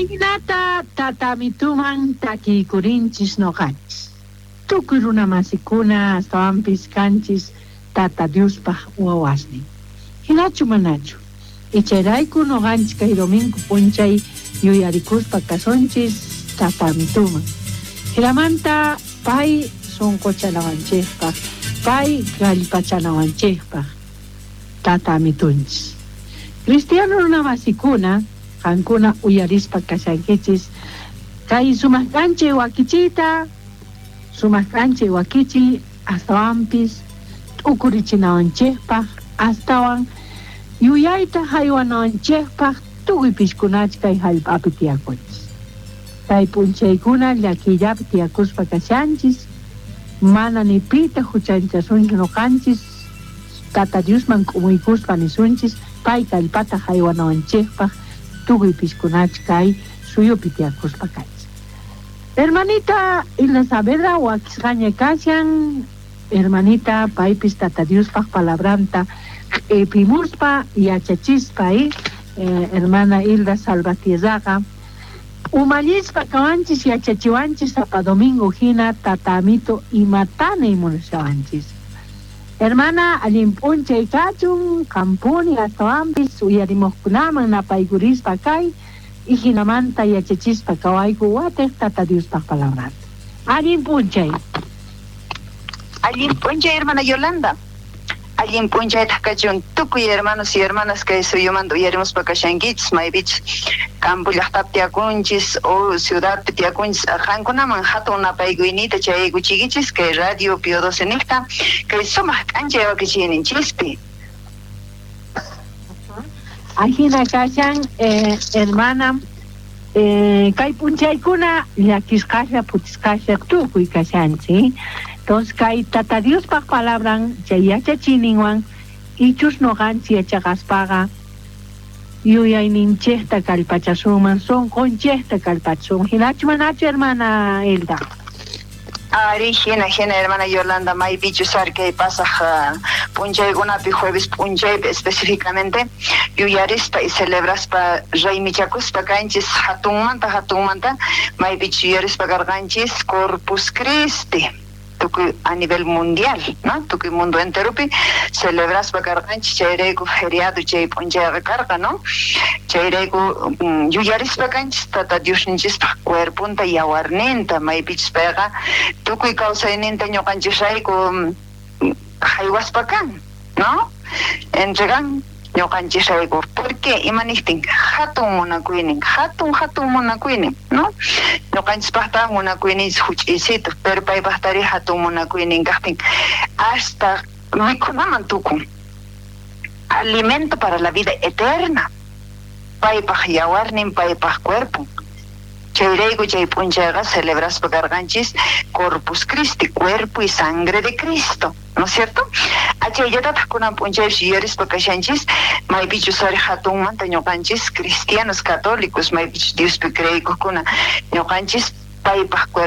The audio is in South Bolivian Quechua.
Ahinata tatamituman takiykurinchis noqanchis. Tukuy runamasikuna astawanpis kanchis Tata Diospaj wawasnin. Hinachu manachu? Ichayrayku noqanchis kay domingo p'unchay yuyarikuspa kasunchis tatamituman. Hinamanta pay sunquchanawanchikpaq, pay kallpachanawanchikpaq Tata Amitunchis. Cristiano runamasikuna, qankuna uyarispa kashankichis kay sumaq k'anchay wakichiyta, sumaq k'anchay wakichiy astawanpis t'ukurichinawanchikpaq, astawan yuyayta haywanawanchikpaq tukuy piskunach kay hallp'api tiyakunchis. Kay p'unchaykuna llakiyllapi tiyakuspa kashanchis, mana ni pita huchanchasunchu noqanchis, Tata Diosman k'umuykuspa nisunchis pay kallpata haywanawanchikpaq tukuy piskunach kay suyupi tiyakuspa kanchis. Hermanita Hilda Saavedra wakisqaña kashan, hermanita paypis Tata Diospaq palabranta q'ipimuspa yachachispa, hermana Hilda Salvatierraqa umallispa kawanchis yachachiwanchis sapa domingo hina Tata Amito imatana munashawanchis. Hermana, allin p'unchay kachun, qampuni astawanpis uyarimuqkunaman napaykurispa kay y hinamanta yachachispa kawayku watiq Tata Diospaq palabranta. Allin p'unchay. Allin p'unchay, hermana Yolanda. Allin p'unchaytaq kachun tukuy hermanos y hermanas kay suyumanta uyarimuspa kashankichis, maypichus campo llaqtapi tiyakunchis o ciudadpi tiyakunchis, qankunaman hatun napaykuyniyta chayaykuchiykichis kay Radio Pío XII niqta kay sumaq k'anchay wakichiyninchispi. Ajina kashan, hermana, kay p'unchaykuna llakisqalla phutisqalla tukuy kashanchis. Entonces kay Tata Diospaq palabran chay yachachiyninwan ichus noqanchis yachaqaspaqa yuyayninchikta kallpachasunman, sunqunchikta kallpachasunman. Hinachu manachu, hermana Hilda? Ari, hina, hina, hermana Yolanda, maypichus ari kay pasaj p'unchaykunapi, jueves p'unchaypi específicamente, yuyarispa y celebraspa raymichakuspa kanchis hatunmanta, hatunmanta, maypichus yuyarispa karqanchis Corpus Christi, tukuy a nivel mundial, ¿no? Tukuy mundo enteropi celebraspa karqanchis, chayrayku feriado chay p'unchayqa karqa, ¿no? Chayrayku yuyarispa kanchis Tata Diosninchispaq cuerponta yawarninta, maypichus payqa tukuy kawsayninta ñuqanchisrayku haywaspa kan, ¿no? Entregan ñuqanchisrayku. ¿Por qué? Ima niqtin? Hatun munakuynin, hatun, hatun munakuynin, ¿no? Ñuqanchispaqta munakuyninchis huch'uysitu, pero paypaqtari hatun munakuynin kaqtin hasta mikhunaman tukun. Alimento para la vida eterna. Paypaq yawarnin, paypaq cuerpon. Chayrayku chay p'unchayqa celebraspa karqanchis Corpus Christi, cuerpo y sangre de Cristo, ¿no es cierto? Achayllatataq kunan p'unchaypis yuyarispa kashanchis, maypichus ari hatunmanta ñuqanchis cristianos católicos, maypichus Diospi creeykuqkuna ñuqanchis paypaq cuerpo.